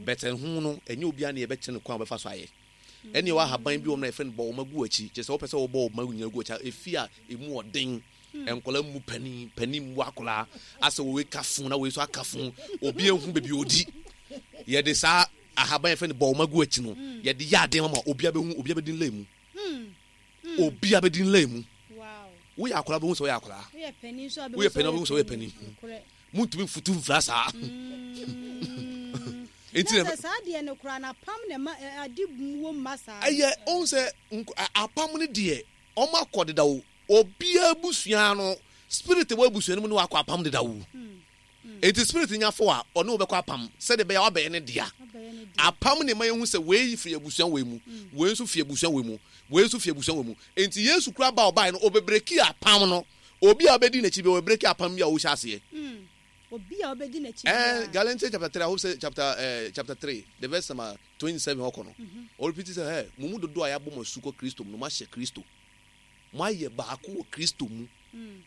But ɛho no, ɛnyɛ obiara na yɛbɛkyerɛ no kwan a ɔbɛfa so ayɛ. Ɛne ɛwɔ ahaban bi wɔ mu na yɛfrɛ no bɔ wɔn agu akyi. Kyerɛ sɛ wopɛ sɛ wɔbɔ wɔn nyinaa gu akyi a, efi a emu ɔden. Nkwadaa mmu panin, panin mmu akwadaa. Asɛ wei ka fo na wei nso aka fo. Obi ehu baabi odi. Yɛde saa ahaban yɛfrɛ no bɔ wɔn agu akyi no, yɛde yɛ adeɛ ma obiara bɛhu, obiara bɛdi nlɛn mu. Obiara bɛdi nlɛn mu. Woyɛ akwadaa bɛhu sɛ woyɛ akwadaa. Woyɛ panin nso bɛhu sɛ woyɛ panin. Montumi mfutu mfra saa. Nti na saa deɛ no koraa na apam na ɛma ade wɔ mma saa. Ɛyɛ ohun sɛ apam no deɛ wɔn akɔ deda o. Obiara abusua no spirit wɔ abusua no mu ne wakɔ apam deda o. Enti spirit nya fo a ɔne wo bɛkɔ apam sɛdeɛ ɛbɛyɛ a wabɛyɛ ne dea. Apam na ɛma yɛhu sɛ wei firi abusua wei mu, wei nso firi abusua wei mu, wei nso firi abusua wei mu. Enti Yesu koraa ba a ɔbaeɛ no, ɔbɛbreki apam no. Obi a ɔbɛdi n'akyi biara, ɔbɛbreki apam bi a ɔhyɛ aseɛ. Obi a ɔbɛdi n'akyi Eh, biara. Galatians chapter 3, I hope sɛ chapter, eh, chapter 3, the verse number 27 hɔ kɔ no. Ɔrepeat sɛ, hey, mo mu dodoɔ a yɛabɔ mo asu kɔ Kristo mu no, moahyɛ Kristo. Moayɛ baako wɔ Kristo mu.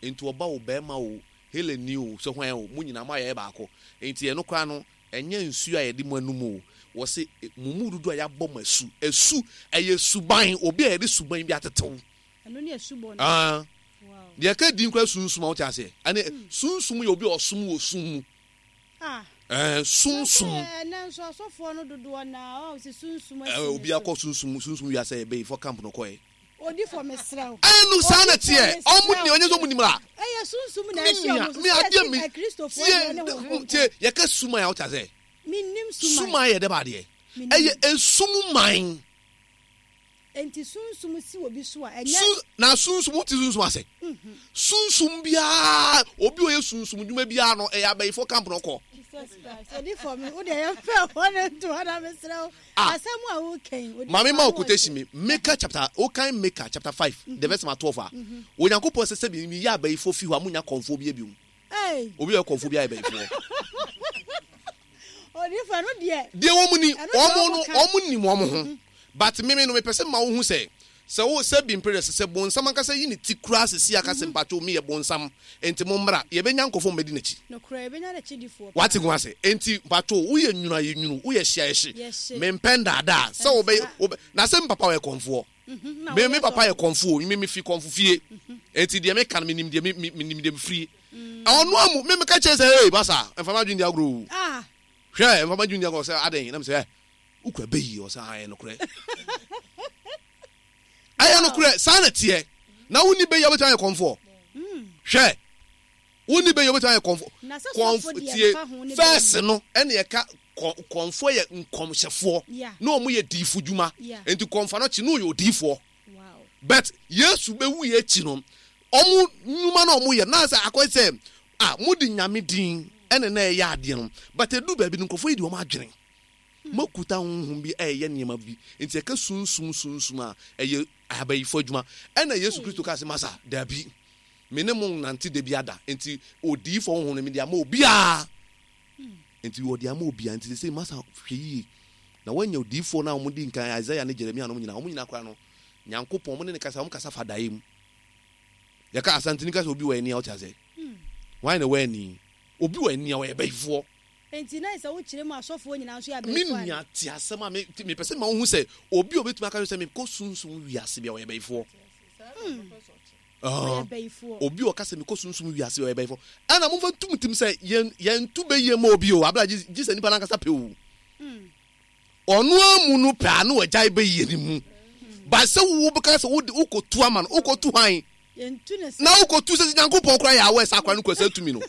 Enti ɔba o, barima o, Helani o, sɛ hwan o, mo nyinaa moayɛ baako. Enti ɛno koraa no, ɛnyɛ nsuo a yɛde mo anum o. Wɔse, mo mu dodoɔ a yɛabɔ mo asu. Asu, ɛyɛ suban, obi a yɛde suban bi atetew. Ɛno ne asubɔ no. Ah. Wow. Deɛ ɛka din koraa sunsum a wote aseɛ. Ɛne sunsum yɛ obi a ɔsom wɔ sum mu. Ah. Ɛɛ, sunsum. Ɛnɛ nso asɔfoɔ no dodoɔ na ɔn sɛ sunsum asi Ɛɛ, ne obi so. akɔ sunsum sunsum wiase ɛbɛyi fɔ camp no kɔɛ. Odifo mesrɛ wo. Ɛnu saa na teɛ. Odifo Ɔmo mesrɛ ni wo. ɔnyɛ sɛ ɔmo nim la. Ɛyɛ sunsum na Me ɛhyɛ nua, ɔmo so. me Sɛ adeɛ yɛsi me Akristofoɔ tie deɛ ne Honhom Kronkron. tie yɛka suman a wote aseɛ. Mennim suman. Suman yɛ dɛ ba adeɛ. Mennim. Ɛyɛ esum man. Enti sunsum si obi so a, ɛnyɛ. Su, na sunsum, wote sunsum ase? Sunsum biara, obi a ɔyɛ sunsum dwuma biara no, ɛyɛ abayifo camp na ɔkɔ. Jesus Christ, odifo me, wo deɛ yɛmfa ɛhɔ no nto hɔ na mesrɛ wo. Ah. Asɛm a woka yi, odifo Maame ma wo ano quotation ɔhye. mi, Micah chapter, wokan Micah chapter 5, the verse number 12 a, Onyankopɔn sɛ sɛbi meyɛ abayifo fi hɔ a, monya kɔmfoɔ biara biom. Ei. Obi a ɔyɛ kɔmfoɔ biara yɛ bayifoɔ. Odifo, ɛno deɛ. Deɛ wɔn ni, Ɛno deɛ wɔn wɔn no, ka. wɔn nim wɔn ho. But me me no, mepɛ sɛ mma wohu sɛ, sɛ wo, sɛ bi mpere dɛ, sɛ bonsam ankasa yi ne ti koraa sisi aka sɛ mpakyɛw meyɛ bonsam, enti mommra, yɛbɛnya nkurɔfoɔ a wɔbɛdi n'akyi. Nokorɛ, yɛbɛnya n'akyidifoɔ Wate paa. ho ase? Enti mpakyɛw, woyɛ nwunu a, yɛ nwunu, woyɛ hye a, yɛ hye. Yɛ hye. Mempɛ ndaadaa, sɛ wobɛyɛ, Ɛmfra. wobɛ, na sɛ me papa ɔyɛ kɔmfoɔ. Na Me, woyɛ me papa yɛ sɔfo. kɔmfoɔ o, me, mefi kɔmfo fie. Enti deɛ meka no, menim deɛ me, me, menim deɛ mefiri. Ɔno amu, me meka kyerɛ sɛ, hey, masa, mfa m'adwene di agorɔ o. Ah. Hwɛ, mfa m'adwene di agorɔ, sɛ adɛn? Na mesɛ, eh, wokura bɛ yi? Ɔsɛ, ah, ɛyɛ nokorɛ. Ɛyɛ nokorɛ, saa na teɛ. Na wonni bɛ yi a wobɛtumi ayɛ kɔmfoɔ? Hwɛ, wonni bɛ yi a wobɛtumi ayɛ kɔmfoɔ? Na sɛ sɔfo Kɔmfo, deɛ tie, mfa ho ne bɛ fɛs yi. no, ɛne ɛka kɔ, kɔmfoɔ yɛ nkɔmhyɛfoɔ. Yeah. Na wɔn yɛ diifo dwuma. Yeah. Enti kɔmfoɔ no kye, na ɔyɛ odiifoɔ. Wow. But Yesu bɛwuiɛ akyi no, wɔn nnwuma no a wɔyɛ no, na sɛ akɔyɛ sɛ, ah, mode Nyame din ɛna na ɛyɛ adeɛ no, but ɛduru baabi no, nkurɔfoɔ yi de wɔn adwene. Moakuta honhom bi ɛreyɛ nneɛma bi, nti ɛka sunsum sunsum a, ɛyɛ abayifo adwuma. Ɛna Yesu Kristo kaa sɛ, Masa, dabi, me ne mo nnante da bi ada, nti odiyifoɔ honhom no mede ama obiara. Nti wɔde ama obiara, nti sesei masa hwɛ yie na woanya odiyifoɔ no a wɔdi nkan, Isaiah ne Jeremia nom nyinaa, wɔn nyinaa koraa no, Nyankopɔn, wɔn ne no kasa, wɔn kasa fa daeɛ mu. Yɛka Asanteni ka sɛ obi wɔ ani a, wote aseɛ? Hwan na ɛwɔ ani? Obi wɔ ani a, ɔyɛ bayifoɔ. Enti na sɛ wokyerɛ mu a, asɔfoɔ nyinaa nso yɛ Me abayifoɔ anaa? nua, te asɛm a me, mepɛ sɛ mema wohu sɛ obi a obetumi aka kyerɛ sɛ mekɔ sunsum wiase bi a, ɔyɛ bayifoɔ. Ɔyɛ bayifoɔ. Obi a ɔka sɛ mekɔ sunsum wiase ɔyɛ bayifoɔ. Ɛna momfa nto mo tirim sɛ yɛn yɛnto bayie mma obi o, abere a gye gye sɛ nipa no ankasa pɛ o. Ɔno ara mu no pɛ a na wagyae bayie no mu. Ba sɛ wo bɛka sɛ wode wokɔtu ama no, wokɔtu hwan? Yɛntu ne Na saa. wokɔtu sɛ Nyankopɔn koraa yɛ aware sɛ akora no kura saa tumi no.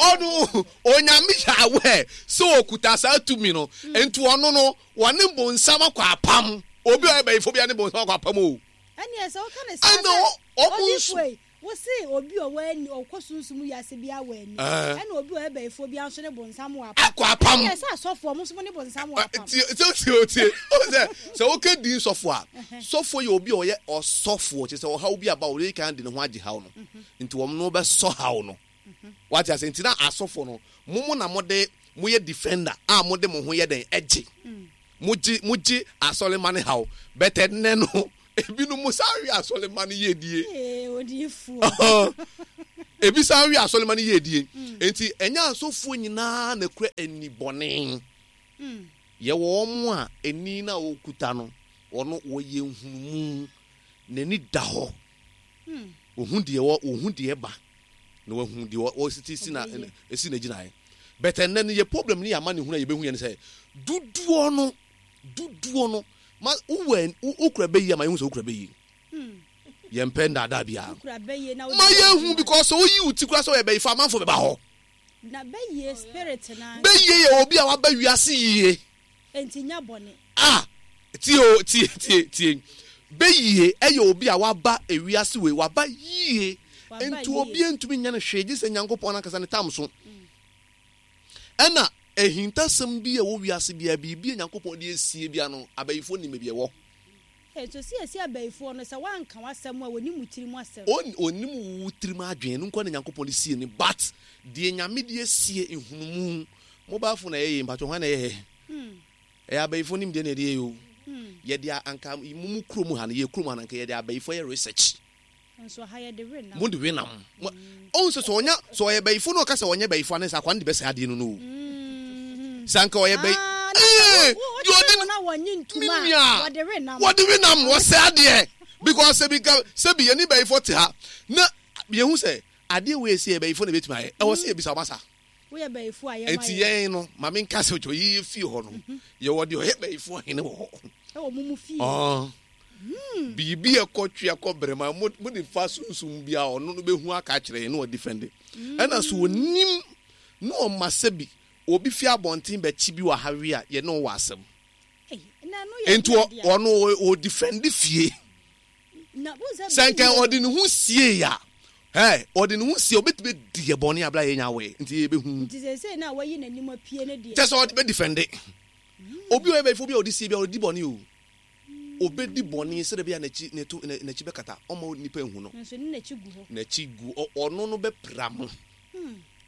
Ɔno Onyame yɛ aware sɛ ɔkuta saa tumi no, nti ɔno no wɔne bonsam akɔ apam. Obi a ɔyɛ bayifo biara ne bonsam akɔ apam o. Ɛneɛ sɛ woka ne saa Ɛna sɛ ɔmo nso. odiyifoɔ yi, wo se obi a ɔwɔ ani, ɔkɔ sunsum wiase biara wɔ ani, ɛna obi a ɔyɛ bayifoɔ biara nso ne bonsam wɔ apam. Akɔ apam. Ɛneɛ sɛ asɔfoɔ, ɔmo nso mo ne bonsam wɔ apam. Tie, tie, tie, tie. Ɔmo sɛ, sɛ woka din sɔfo a, sɔfo yɛ obi a ɔyɛ ɔsɔfoɔ, kyerɛ sɛ ɔhaw bi aba a, ɔde kan de ne ho agye haw no. Nti wɔn no bɛsɔ haw no. Wate ase? Nti na asɔfo no, mo mo na mode, moyɛ defender a mode mo ho yɛ dɛn? Ɛgye. Mogye, mogye asɔremma no haw. But ɛnnɛ no, ebinom mo san we asɔremma no yiedie. Ee, odiyifoɔ. Ebi san we asɔrema no yiedie. Enti ɛnyɛ asɔfoɔ nyinaa na ɛkura ani bɔne. Yɛwɔ wɔn a ani no a wɔkuta no, wɔn wɔyɛ nhunumu, n'ani da hɔ. Ɔhu deɛ wɔ, ɔhu deɛ ɛba, na wahu deɛ ɔsi si na esi n'agyinaeɛ. But ɛnnɛ no yɛ problem ne yɛ amanehunu a yɛbɛhu yɛ ne sɛ dodoɔ no dodoɔ no ma wowɔ wokura bɛyi ama yɛhu sɛ wokura bɛyi. Yɛmpɛ nnaadaa biara. Ma yɛhu because sɛ woyi wo ti koraa sɛ ɔyɛ bɛyifo amanfo bɛba hɔ. Na bɛyie spirit no ankasa. Bɛyie yɛ obi a waba wiase yie. Enti nyɛ bɔne. Ah! Tie o, tie, tie, tie. Bɛyie yɛ obi a waba ewiase wei, waba yie. Enti obi ntumi nyɛ no hwee gye sɛ Nyankopɔn ankasa ne tam so. Ɛna ahintasɛm bi a ɛwɔ wiase biara, biribi a Nyankopɔn de asie biara no, abayifoɔ nim baabi ɛwɔ. Hey, so siesie abayifoɔ no, sɛ woanka w'asɛm a, wɔnim wo tirim asɛm. Ɔnim wo tirim adwene, ɛno nkoa na Nyankopɔn de sie no, but deɛ Nyame de asie, nhunumu, mobile phone a ɛyɛ yei, mpakyɛ hwan na ɛyɛɛ? Ɛyɛ abayifoɔ nimdeɛ na yɛde yɛ o. Yɛde anka mo mo kurom ha no, yɛ kurom ha no, anka yɛde abayifoɔ yɛ research. Nso ha yɛde we nam. Mo de we nam. Ɔhu sɛ sɛ ɔnya sɛ ɔyɛ bayifo na ɔka sɛ ɔnyɛ bayifo anaa sɛ akwa no de bɛsɛe adeɛ no no o. Sɛ anka ɔyɛ bayi. Ee deɛ ɔde no me nua wɔde we nam. Wɔde we nam wɔsɛe adeɛ because sɛ bi nka sɛ bi yɛne bayifo te ha na yɛhu sɛ adeɛ wei ɛsi yɛ bayifo na ebetumi ayɛ ɛwɔ sɛ yɛbisa wɔn asa. Woyɛ bayifo a yɛma yɛ. Nti yɛn no ma me nka sɛ ɔtɔ yiye fie hɔ no yɛwɔ deɛ ɔyɛ bayifo hene wɔ hɔ. Ɛwɔ mo mu fie. Ɔn. Biribi a ɛkɔ twe akɔ brɛma mo mo de fa sunsum bi a ɔno no bɛhu aka akyerɛ yɛn na ɔdifɛnde. Ɛna so onim na ɔma sɛbi obi fi abɔnten bɛkye bi wɔ ha we a yɛne wo wɔ asɛm. Nti ɔno ɔdifɛnde fie. Sɛ nka ɔde ne ho siee a, ɛ ɔde ne ho sie obetumi adi yɛ bɔne abira yɛn awɛ nti yɛbɛhu. Nti sɛsɛ na wayi n'anim apue ne deɛ. Kyɛ sɛ ɔde bɛdifɛnde. Obi a ɔyɛ bɛyifo obi a ɔde sie bi a ɔdi bɔne o. Obedi bɔne sɛdeɛ ɛbɛyɛ a n'akyi, n'atu, n'akyi bɛkata. Ɔmma nnipa nhu no. Nanso ne n'akyi gu hɔ. N'akyi gu hɔ. Ɔno no bɛpira mo.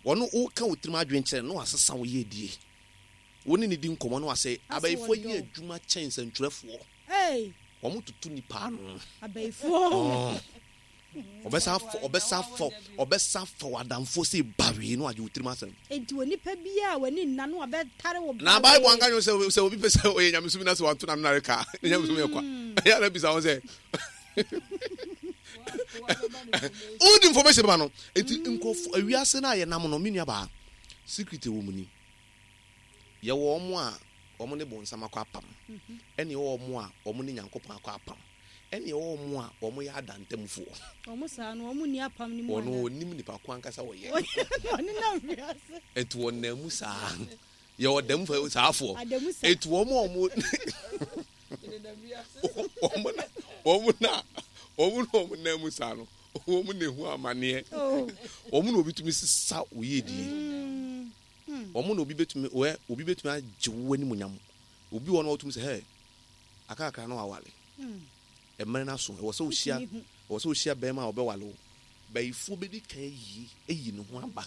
Ɔno, woka wo tirim adwene kyerɛ no, na wasesa wo yiedie. Wo ne no di nkɔmmɔ na wasɛ. Abayifoɔ yɛ adwuma kyɛn nsɛntwerɛfoɔ. Wɔtoto nnipa ano. Abayifoɔ. Ɔbɛsan afa, ɔbɛsan afa, ɔbɛsan afa w'adamfoɔ sɛ bawee na wagye wo tirim asɛm. Enti onipa biara a w'ani nna no ɔbɛtare wo Na Bible anka nkyerɛ sɛ sɛ obi pɛ sɛ ɔyɛ nyamesom na sɛ wanto n'ano nareka a, ne nyamesom yɛ kwa. Ɛyɛ a na bisa ho sɛ wode information bɛma no. Enti nkurɔfo awiase no a yɛnam no, me nuabaa, secret wɔ mu ni. Yɛwɔ wɔn a wɔn ne bonsam akɔ apam, ɛne yɛwɔ wɔn a wɔn ne Nyankopɔn akɔ apam. Ɛne ɛwɔ wɔn a wɔyɛ adantamfoɔ. Wɔn saa no, wɔn nni apam no mu anaa? Wɔn wɔnnim nipa ko ankasa wɔyɛ. Wɔnenam wiase. Enti wɔnam mu saa. Yɛwɔ dɛm fo saafoɔ. Adamu sa. Enti wɔn a wɔn wɔn na wɔn na wɔn na wɔn nam mu saa no, wɔn na ehu amaneɛ. Oh. Wɔn na obi tumi sesa wo yiedie. Wɔn na obi betumi wɛ obi betumi agye wo animuonyam. Obi wɔ hɔ na ɔtumi sɛ hɛ akakra na wawale. Mmerɛ no aso, ɛwɔ sɛ wohyia, ɛwɔ sɛ wohyia bɛrima a ɔbɛwale wo. Bayifoɔ bɛdi kan ayi, ayi ne ho aba.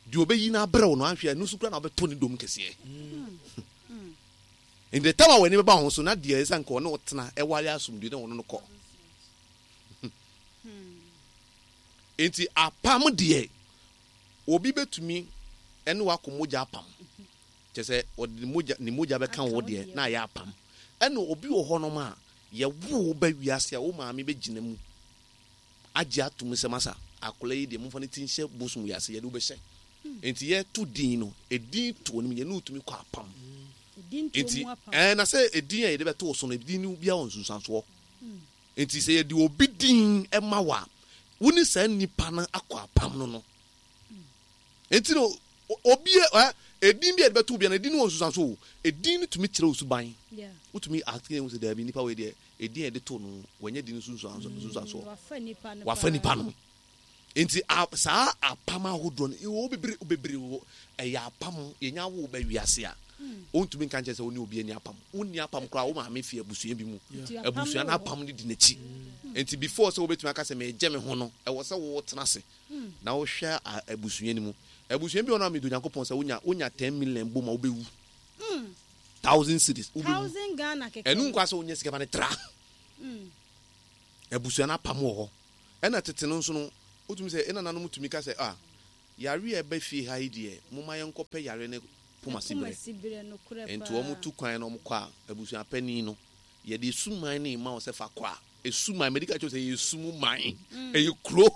Deɛ ɔbɛyi no abrɛ wo no, anhwɛ a, ɛno nso koraa na wobɛtɔ ne dom kɛseɛ. In the time a w'ani bɛba ho so, na deɛ ɛsɛ nka ɔne wo tena, ɛware asomdwoe na ɔno no kɔ. Nti apam deɛ, obi bɛtumi ɛne wakɔ mogya apam. Kyerɛ sɛ, ɔde ne mogya, ne mogya bɛka wo deɛ na ayɛ apam. Ɛna obi wɔ hɔnom a, yɛwo wo ba wiase a, wo maame bɛgyina mu agye atom sɛ, masa, akwadaa yi deɛ, momfa ne ti nhyɛ bosom yi ase, yɛde wo bɛhyɛ. Nti yɛto din no, edin to no, yɛne wo tumi kɔ apam. Nti, ɛɛ, na sɛ edin a yɛde bɛto wo so no, edin no biara wɔ nsunsuansoɔ. Nti sɛ yɛde obi din ma wo a, wo ne saa nipa no akɔ apam no no. Enti no, obi ɛ, edin bi a yɛde bɛto obi no, edin no wɔ nsusuanso o. Edin no tumi kyerɛ wo suban. Wotumi ate ehu sɛ daabi, nipa wei deɛ, edin a yɛde too no, wanya din no so nsusuansoɔ. Wafa nipa no. Enti a, saa apam ahodoɔ no, ɛwɔ bebree, bebree wɔ, ɛyɛ apam, yɛnya wo ba wiase a, wontumi nka nkyerɛ sɛ wo ne obi ani apam. Wonni apam koraa, wo maame fi abusua bi mu. Abusua no apam no di n'akyi. Enti before sɛ wobɛtumi aka sɛ megye me ho no, ɛwɔ sɛ wotena ase. Na wohwɛ abusua no mu. Abusua bi wɔ hɔ a medɔ Nyankopɔn sɛ wonya wonya ten million bom a wobɛwu. Thousand cedis wobɛwu. Thousand Ghana kɛkɛ. Ɛno nkwa sɛ wonya sika ma no tra. Abusua no apam wɔ hɔ. Ɛna tete no nso no. Wotumi sɛ ɛnananom tumi ka sɛ, ah, yare a ɛba fie ha yi deɛ, momma yɛnkɔpɛ yare no poma siberɛ. Enti wɔtu kwan na wɔkɔ a, abusua panin no, yɛde suman no rema wo sɛ fa kɔ a, esuman, madi ka kyerɛ wo sɛ ɛyɛ sum man, ɛyɛ kuro.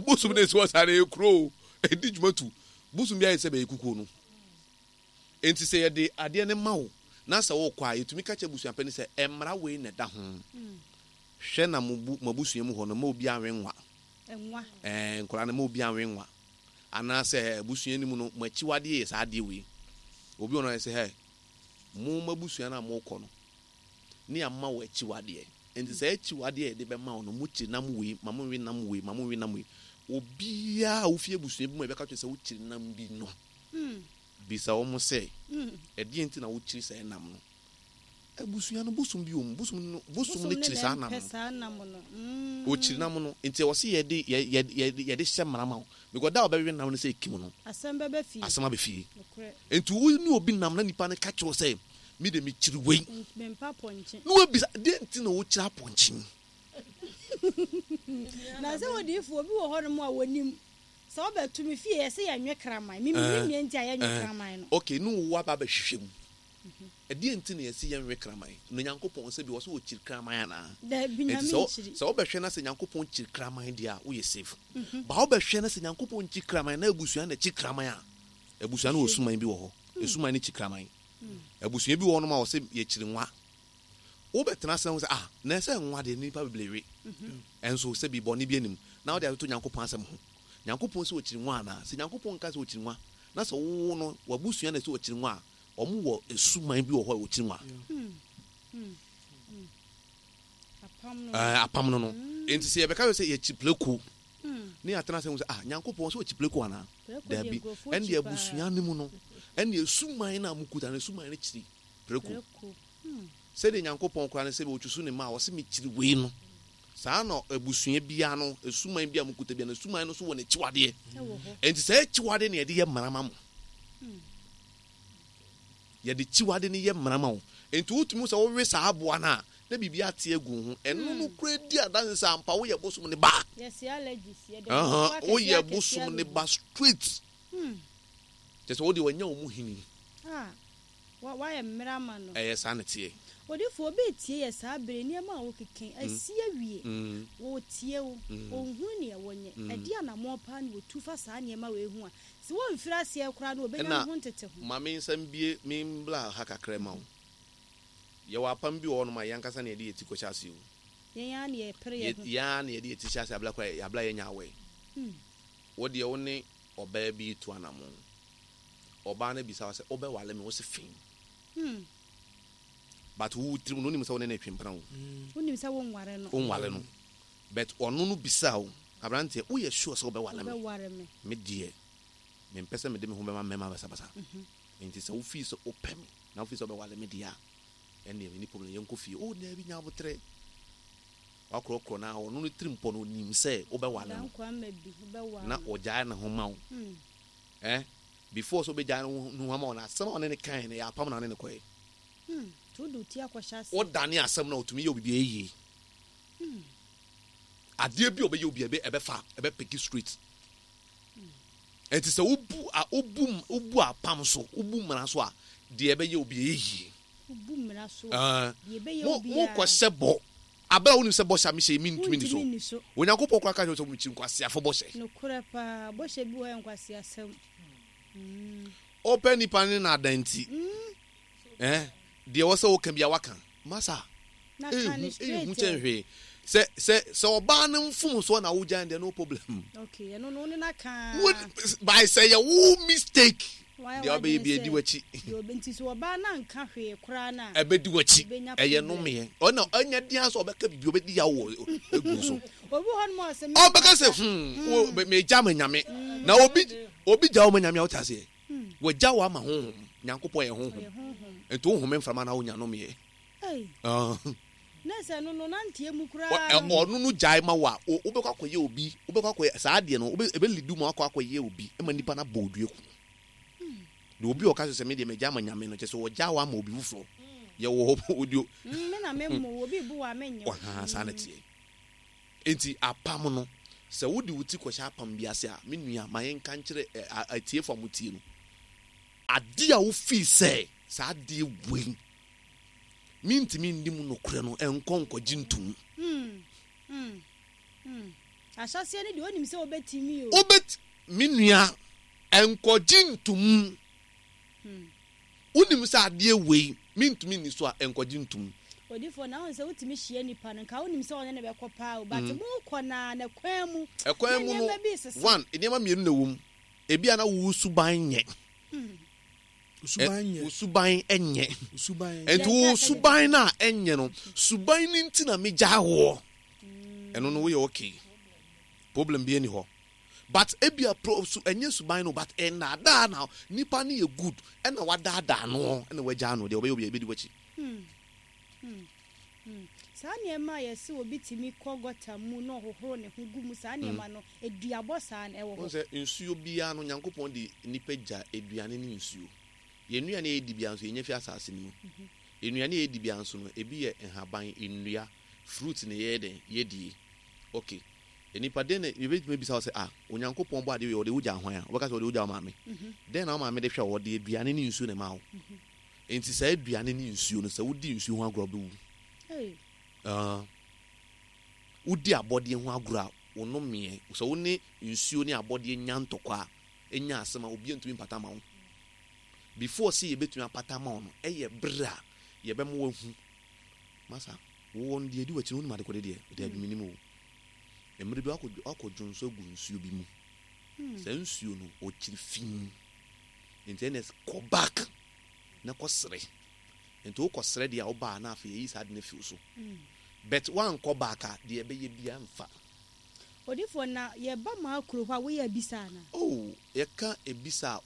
Bosom no a ɛsi hɔ saa no, ɛyɛ kuro o, ɛdi dwuma tu. Bosom bi ayɛ sɛ bɛyɛ kukuo no. Enti sɛ yɛde adeɛ no ma wo na sɛ wokɔ a, yɛtumi ka kyerɛ abusua panin sɛ, mmara wei na ɛda ho. Hwɛ na mo bu, mo abusua mu hɔ no, mma obiara nwe nwa. Ɛɛ, nkwadaa no, mma obiara nwe nwa. Anaasɛ abusua no mu no, mo akyiwadeɛ yɛ saa adeɛ wei. Obi wɔ no a, yɛsɛ, hɛ, mo mo abusua no a mokɔ no, ne ama wo akyiwadeɛ. Enti saa akyiwadeɛ a yɛde bɛma wo no, mokyiri nam wei, ma monwe nam wei, ma monwe nam wei. Obiara a wofi abusua bi mu a yɛbɛka kyerɛ sɛ wokyiri nam bi no, bisa wɔn sɛ, ɛdeɛn nti na wokyiri saa nam no? Abusua no bosom bi wɔ mu, bosom no bosom no kyiri saa nam no. Ɔkyiri nam no, nti ɛwɔ sɛ yɛde yɛde yɛde hyɛ mmara ma wo. Because da a ɔbɛwe nam no sɛ ekim no, asɛm bɛba fie. Asɛm aba fie. Nti wo ne obi nam na nipa no ka kyerɛ wo sɛ me de mekyiri wei. Mempa apɔnkye. Na wabisa deɛ nti na wokyiri apɔnkye? Na sɛ odiyifoɔ obi wɔ hɔnom a wɔnim sɛ wobɛto me fie yɛse yɛnwe kraman. Me mennim deɛ nti a yɛnwe kraman no. Okay, ne wo aba abɛhwehwɛ mu. Ɛdeɛn nti na yɛse yɛnwe kraman? Na Nyankopɔn sɛbi ɔse ɔkyiri kraman anaa? Daabi, Enti Nyame sɛ nkyiri. sɛ wobɛhwɛ na sɛ Nyankopɔn kyiri kraman deɛ a, woyɛ safe. But wobɛhwɛ na sɛ Nyankopɔn nkyi kraman na abusua na ɛkyi kraman a, abusua no wɔ suman bi wɔ hɔ. Esuman no kyi kraman. Abusua bi wɔ hɔnom a wɔse yɛkyiri nwa. Wobɛtena ase na wohu sɛ ah, na ɛsɛ nwa deɛ nnipa bebree we. Ɛnso sɛbi bɔne bi anim na wode atoto Nyankopɔn asɛm ho. Nyankopɔn se ɔkyiri nwa anaa? Sɛ Nyankopɔn nka sɛ ɔkyiri nwa na sɛ wo no w'abusua na ɛse ɔkyiri nwa a, Wɔn wɔ suman bi wɔ hɔ a wɔkyiri nwa. Ɛɛ apam no no. Nti sɛ yɛbɛka sɛ yɛkyi pleko ne yɛatena sɛ ho sɛ ah Nyankopɔn sɛ ɔkyi pleko anaa? Daabi. Ɛnde abusua no mu no ɛnde suman no a mokuta no suman no kyiri preko. Sɛdeɛ Nyankopɔn koraa no sɛ ɔtwusu ne mma a ɔse mekyiri wei no. Saa na abusua biara no suman bi a mokuta biara no suman no so wɔ n'akyiwadeɛ. Nti saa akyiwadeɛ na yɛde yɛ mmara ma mo. Yɛde kyiwade no yɛ mmara ma wo. Enti wotumi hu sɛ wowe saa aboa no a, na biribi ate agu wo ho. Ɛno no koraa di adanse sɛ ampa woyɛ bosom no ba. Ahaa, woyɛ bosom no ba straight. Kyerɛ sɛ wo deɛ wanya wo mu hini. Wayɛ mmara ama no. Ɛyɛ saa na ɛteɛ. Odifo, obi retie yɛ saa bere yi, nneɛma a wokeka yi, asi awie. Wɔretie wo, wɔnhunu nea wɔnyɛ. Ɛdeɛn anammɔn paa na wɔtu fa saa nneɛma wei ho a Sɛ wɔmfiri aseɛ koraa no wɔbɛnya Ɛna ne ho nteteho. ma me nsa mbue me mbra ha kakra mma wo. Yɛwɔ apam bi wɔ hɔnom a yɛn ankasa na yɛde yɛn ti kɔhyɛ ase o. Yɛn ara na yɛpere yɛn ho. Yɛn ara na yɛde yɛn ti hyɛ ase abla koraa abla yɛnya awɛ. Wo deɛ wo ne ɔbaa bi retu anamon. Ɔbaa no bisa wo sɛ wobɛwale me? Wo se fee. But wo tirim no wonim sɛ wo ne no retwe mpena o. Wonim sɛ wonware no. Wonware no. But ɔno no bisaa wo, Aberanteɛ, woyɛ sure sɛ wobɛware me? Wobɛware me. Me deɛ, mempɛ sɛ mede me ho bɛma mmarima basabasa. Enti sɛ wofii sɛ wopɛ me na wofii sɛ wobɛware me deɛ a, ɛnneɛ menni problem, yɛnkɔ fie. Oh, daabi, nya aboterɛ. Woakorɔkorɔ no ara, ɔno ne tirimpɔ no, ɔnim sɛ wobɛware no. Dankwa mma bi, wobɛware Na no. ɔgyae ne ho ma wo. Eh, before sɛ ɔbɛgyae ne ho ama wo no, asɛm a ɔne no kaeɛ no, ɛyɛ apam na ɔne no kɔeɛ. Nti wode wo ti akɔhyɛ aseɛ. Wodane asɛm no a, ɔtumi yɛ wo biribi a ɛyɛ yie. Adeɛ bi a ɔbɛyɛ obi ɛbɛ ɛbɛfa ɛbɛ piki straight. Ɛnti sɛ wobu a wobu wobu apam so wobu mmara so a deɛ ɛbɛyɛ obi ɛyɛ yie. Wobu mmara so a deɛ ɛbɛyɛ obi a. Mo kɔ hyɛ bɔ abere a wonim sɛ bɔhyɛ a mehyɛ yi mentumi ni so. Onyankopɔn koraa ka kyerɛ sɛ mekyi nkwaseafo bɔhyɛ. Nokorɛ paa bɔhyɛ bi wɔ hɔ yɛ nkwaseasɛm. Ɔpɛ nipa ne naadaa nti. Eh, deɛ ɛwɔ sɛ woka bia waka. Masa, ehu, ehu kyɛn hwee. Sɛ, sɛ, sɛ ɔbaa no mfomsoɔ na wogyae deɛ no problem. Okay, ɛno no, wo ne no aka. Wo, by sɛ yɛ wo mistake. Deɛ ɔbɛyɛ bi edi w'akyi. Nti sɛ ɔbaa no anka hwee koraa no a. Ɛbɛdi w'akyi. Ɛyɛ nomeɛ. Ɔna ɛnyɛ den sɛ ɔbɛka biribi ɔbɛdi yaw wɔ egu so. Obi hɔ nom a ɔsɛ. Ɔbɛka sɛ hmm, wo megya ma nyame. Na obi, obi gya wo ma nyame a wote aseɛ. Wagya wo ama honhom. Nyankopɔn yɛ honhom. Nti wo home mframa na wonya nomeɛ. Ɔno no gyae ma wo a, wobɛkɔ akɔyɛ obi, wobɛkɔ akɔyɛ saa adeɛ no, ɛbɛ lidu ma wakɔ akɔyɛ obi ma nipa no abɔ odua ku. Na obi a ɔka sɛ me deɛ magya ama Nyame no, kyɛ sɛ ɔgya wo ama obi foforɔ. Yɛwɔ hɔ odio. Me na me mmo, obi bu wo a menyɛ wo. Ɔhaa saa na teɛ. Nti apam no. Sɛ wode wo ti kɔhyɛ apam bi ase a, me nua, ma yɛnka nkyerɛ atiefo a wɔtie no, ade a wofii sɛ saa adeɛ wei mentumi nni mu nokorɛ no, nkɔ nkɔgye ntom. Ahyɛaseɛ no deɛ wonim sɛ wobɛtumi o. Wobɛt, me nua, nkɔgye ntom. Wonim sɛ adeɛ wei mentumi nni so a, nkɔgye ntom. Odifoɔ, na wohu sɛ wotumi hyia nipa no, nka wonim sɛ ɔne no bɛkɔ paa o, but mokɔ no ara na kwan mu, na Ɛkwan mu no, nneɛma bi resesa. one, nneɛma mmienu na ɛwɔ mu. Ebia na wo suban nyɛ. Wo suban nyɛ. Wo suban nyɛ. Wo suban nyɛ. Nti wo suban no a ɛnyɛ no, suban no nti na megyaa woɔ. Ɛno no woyɛ okay. Problem bi nni hɔ. But ebia pro su ɛnyɛ suban no but nnaadaa na nipa no yɛ good ɛna wadaadaa no ɛna wagyaa no deɛ ɔbɛyɛ obi a ebedi w'akyi. Hmm. Hmm. Hmm. Saa nneɛma a yɛse obi tumi kɔ gɔta mu na ɔhohoro ne ho gu mu saa nneɛma no aduabɔ saa no ɛwɔ Wohu hɔ? sɛ nsuo biara no Nyankopɔn de nnipa gya aduane ne nsuo. Yɛn nnuane a yɛdi biara nso yɛnya fi asase no mu. Nnuane a yɛdi biara nso no ebi yɛ nhaban, nnua, fruit na yɛyɛ dɛn? Yɛdie. Okay. Nnipa, dɛn na yɛbɛtumi abisa wo sɛ, ah, Onyankopɔn bɔ adeɛ wei, ɔde wo gyaa hwan a? Wobɛka sɛ ɔde wo gyaa wo maame. Dɛn na wo maame de hwɛ wo? Ɔde aduane ne nsuo na ɛmaa wo. Enti saa aduane ne nsuo no, sɛ wodi nsuo ho agorɔ a, wobɛwu. Ah, wodi abɔdeɛ ho agorɔ a, wo nomeɛ, sɛ wo ne nsuo ne abɔdeɛ nya ntɔkwa a, nya asɛm a, obiara ntumi mpata ma wo. Before sɛ yɛbɛtumi apata ama wo no, ɛyɛ berɛ a yɛbɛma woahu. Masa, wowɔ no deɛ ɛdi w'akyi no, wonim adekode deɛ? Daabi, menim o. Mmerɛ bi wakɔ wakɔ dwonsɔ agu nsuo bi mu. Saa nsuo no, ɔkyiri fi. Nti ɛnɛ kɔ back na kɔ srɛ. Nti wokɔ srɛ deɛ a wobaa na afei yɛyi saa ade no afi wo so. But woankɔ back a, deɛ ɛbɛyɛ biara mfa. Odifoɔ, na yɛba maa kuro hɔ a woyɛ abisa anaa? Oh, yɛka abisa a, wo.